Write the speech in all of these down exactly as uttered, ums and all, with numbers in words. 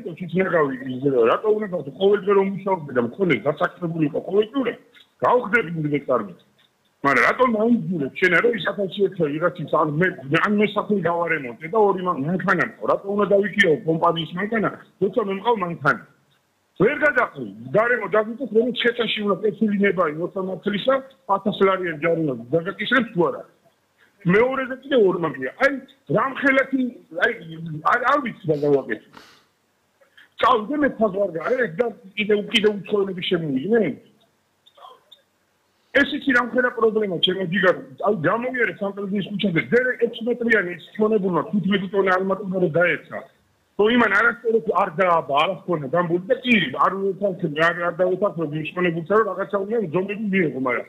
იმიტომ თვითნაგავი იზრდება, რატო უნდა გავხდე ყოველდღე რომ მუშაობდე და მქონე გასაკეთებული იყო ყოველდღე, გავხდები ინვესტორები. მაგრამ რატომ აიძულებ შენ რომ ის ათასი ვიღაცის ან მე ან მე საფი გავარემონტე და ორი მანქანა მყავ, რატო უნდა დავიქირავ კომპანიის მანქანა, თუმცა მე მყავ მანქანა. ვერ გადაყრი, გარემო დაგიწევს რომ შეწაში უნდა პეცილინება ოცდამათლისა ათას ლარიანი ჯარი უნდა დაგაკისრებს თუ არა. მეორეზე კიდე ორი მაგია. აი რამხელეთი აი არ ვიცი რა გავაკეთე. წავიდე მე ფაზვარგა, ეს და კიდე კიდე უცხოელები შემოვიდნენ. ეს ის რამხელა პრობლემა ჩემო ჯიგარ. აი გამოვიარე სამტრედიის ქუჩაზე, დერე ექვსი მეტრიანი შონებულმა ხუთმეტი ტონა ალმატურა დაეცა. то იმან არასწორად არ დააბა, არ ხონა გამბული და კი არ ვეთანხმები, არ არ დავეთანხმები იმ შონებულსა რომ რაღაცა უნდა ზომები მიიღო, მაგრამ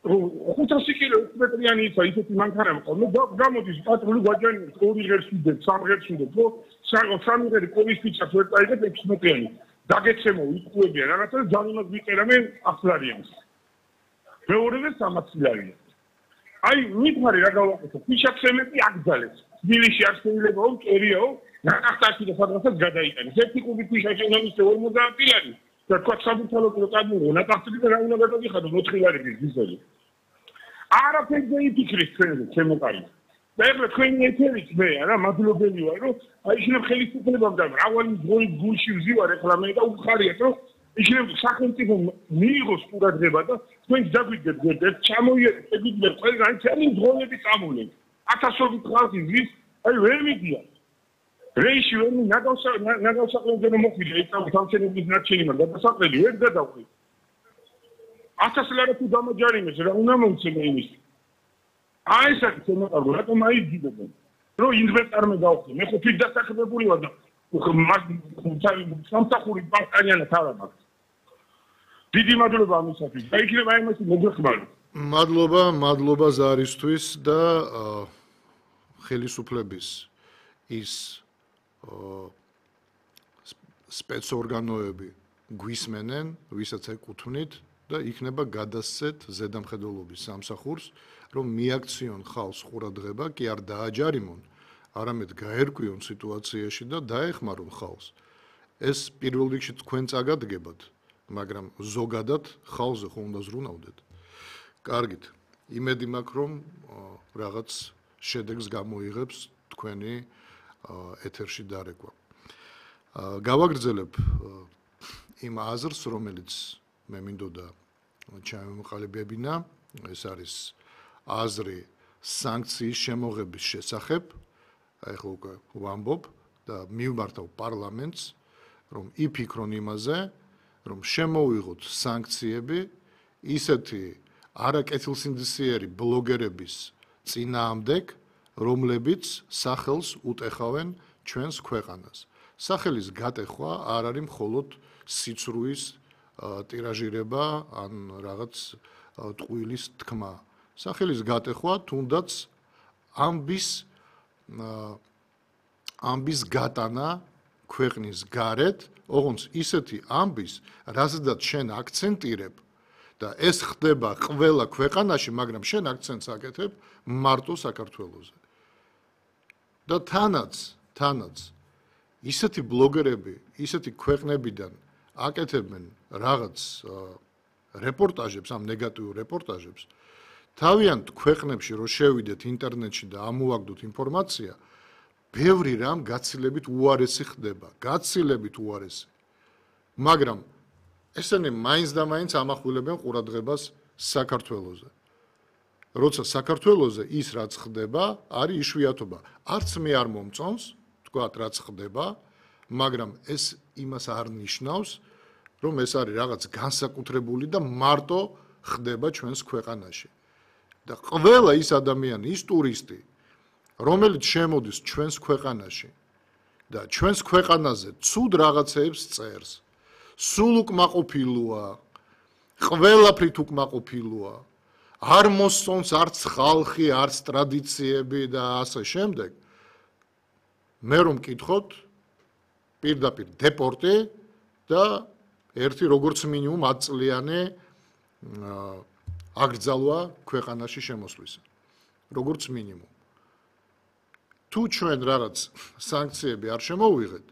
ხუთასი კილო ექვსი მეტრიანი ისა ისეთი მანქანა მყავს. მე გამოდის პატრული გვაჯანი ორი ღერს ვიდებ, სამ ღერს ვიდებ, ხო? სამი ღერი კოვის ფიჩას ვერ წაიღებ ექვსი მეტრიანი. დაგეცემო იკუებიან რაღაცა და ჯანიმას ვიწერა მე ათს ლარიანს. მეორეზე სამასი ლარიანი. აი მითხარი რა გავაკეთო? ფიჩაქსემები აკძალეს. თბილისში არ შეიძლება მკერიაო ნახტაში და სადღაცაც გადაიტანეს. ერთი კუბი ფიჩაში უნდა მისცე ორმოცდაათი ლარი. და თქვა საბუთალო კადმო ნახტაში და რა უნდა გადაგიხადო ოთხი ლარი გიზელი. არაფერზე იფიქრეს ჩვენზე, ჩემო კარი. და ეხლა თქვენი ეთერით მე არა მადლობელი ვარ, რომ აი შეიძლება ხელისუფლებამ და მრავალი ძღოლი გულში ვზივარ ეხლა მე და უხარიათ, რომ შეიძლება სახელმწიფო მიიღოს ყურადღება და თქვენ დაგვიდგეთ გვერდით, ჩამოიერეთ, შეგვიძლია ყველგან ჩემი ძღოლები წამოვლენ. ათასობით ხალხი ვის, აი ვერ მიდიან. რეიში ვერ ნაგავსაყრელზე მოხვიდა, იქ სამშენებლობის ნარჩენი, მაგრამ გადასაყრელი ვერ გადავყვი. ათას ლარი თუ დამაჯარიმეს, რა უნდა მომცემე იმის. აი ეს არის შემოყარგო, რატომ აიძილებენ? რომ ინვესტორმა გავხდე, მე ხო თვით დასახელებული ვარ და სამსახური პარტანიანა თავად აქვს. დიდი მადლობა ამისათვის. და იქნება იმასი მოგეხმარო. მადლობა, მადლობა ზარისთვის და ხელისუფლების ის სპეცორგანოები გვისმენენ, ვისაც ეკუთვნით და იქნება გადასცეთ ზედამხედველობის სამსახურს, რომ მიაქციონ ხალხს ყურადღება, კი არ დააჯარიმონ, არამედ გაერკვიონ სიტუაციაში და დაეხმარონ ხალხს. ეს პირველ რიგში თქვენ წაგადგებათ, მაგრამ ზოგადად ხალხზე ხო უნდა ზრუნავდეთ. კარგით, იმედი მაქვს, რომ რაღაც შედეგს გამოიღებს თქვენი ეთერში დარეკვა. გავაგრძელებ იმ აზრს, რომელიც მე მინდოდა ჩამოვყალიბებინა, ეს არის აზრი სანქციის შემოღების შესახებ. აი ხო უკვე ვამბობ და მივმართავ პარლამენტს, რომ იფიქრონ იმაზე, რომ შემოვიღოთ სანქციები ისეთი არაკეთილსინდისიერი ბლოგერების წინააღმდეგ, რომლებიც სახელს უტეხავენ ჩვენს ქვეყანას. სახელის გატეხვა არ არის მხოლოდ სიცრუის ტირაჟირება ან რაღაც ტყუილის თქმა. სახელის გატეხვა თუნდაც ამბის ამბის გატანა ქვეყნის გარეთ, ოღონდ ისეთი ამბის, რაზედაც შენ აქცენტირებ და ეს ხდება ყველა ქვეყანაში, მაგრამ შენ აქცენტს აკეთებ მარტო საქართველოზე. და თანაც, თანაც ისეთი ბლოგერები, ისეთი ქვეყნებიდან აკეთებენ რაღაც რეპორტაჟებს, ამ ნეგატიურ რეპორტაჟებს, თავიანთ ქვეყნებში რო შევიდეთ ინტერნეტში და ამოვაგდოთ ინფორმაცია, ბევრი რამ გაცილებით უარესი ხდება, გაცილებით უარესი. მაგრამ ესენი მაინც და მაინც ამახვილებენ ყურადღებას საქართველოზე. როცა საქართველოზე ის რაც ხდება, არის იშვიათობა. არც მე არ მომწონს, თქვათ რაც ხდება, მაგრამ ეს იმას არ ნიშნავს, რომ ეს არის რაღაც განსაკუთრებული და მარტო ხდება ჩვენს ქვეყანაში. და ყველა ის ადამიანი, ის ტურისტი, რომელიც შემოდის ჩვენს ქვეყანაში და ჩვენს ქვეყანაზე ცუდ რაღაცეებს წერს, სულ უკმაყოფილოა, ყველაფრით უკმაყოფილოა, არ მოსწონს არც ხალხი, არც ტრადიციები და ასე შემდეგ. მე რომ მკითხოთ, პირდაპირ დეპორტი და ერთი როგორც მინიმუმ ათი წლიანი აკრძალვა ქვეყანაში შემოსვლისა. როგორც მინიმუმ. თუ ჩვენ რაღაც სანქციები არ შემოვიღეთ,